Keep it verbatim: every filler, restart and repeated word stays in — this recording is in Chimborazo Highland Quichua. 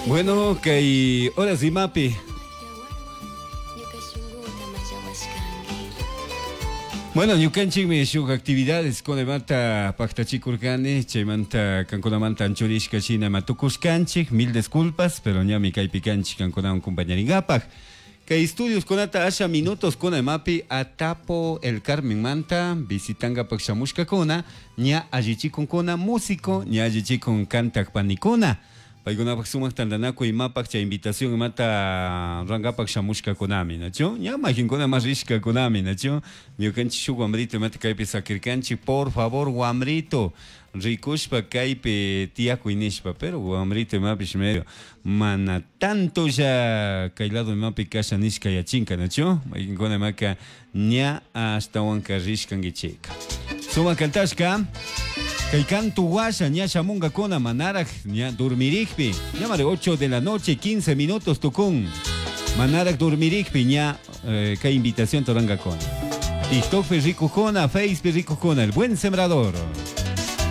Bueno, kay horas imapi. Bueno, ñukanchikmi shuk actividades kunamanta paktachikurkani, chaymanta kankunamanta anchurishka shina matukushkanchik, mil disculpas, pero ñami kaypi kanchik kankunawan compañarinkapak. Kay estudios kunata asha minutos kuna imapi Atapo el Carmen manta visitankapak shamushkakuna, ña allichikunkuna músico, ña allichikun kantak panikuna. Paykunapak sumak tantanakuy imapak chay invitación imata rankapak shamushkakunami, nachu? Ña majinkuna mas rishkakunami, nachu? Ñukanchik shuk wamrito imata kaypi sakirkanchik, por favor wamrito, rikushpa kaypi tiyakuy nishpa, pero wamrito imapish medio mana tanto ya kay lado imapi kasha nishka yachinka, nachu? Majinkuna imaka ña ashtawanka rishkankichika. Sumak kantashka. Kay kantu washa ña shamunkakuna manaraj ña dormirikpi, ña mare ocho de la noche quince minutos tukun, manaraj dormirikpi ña eh, kay invitación torankakuna. TikTokpi rikukuna, Facebookpi rikukuna, El Buen Sembrador.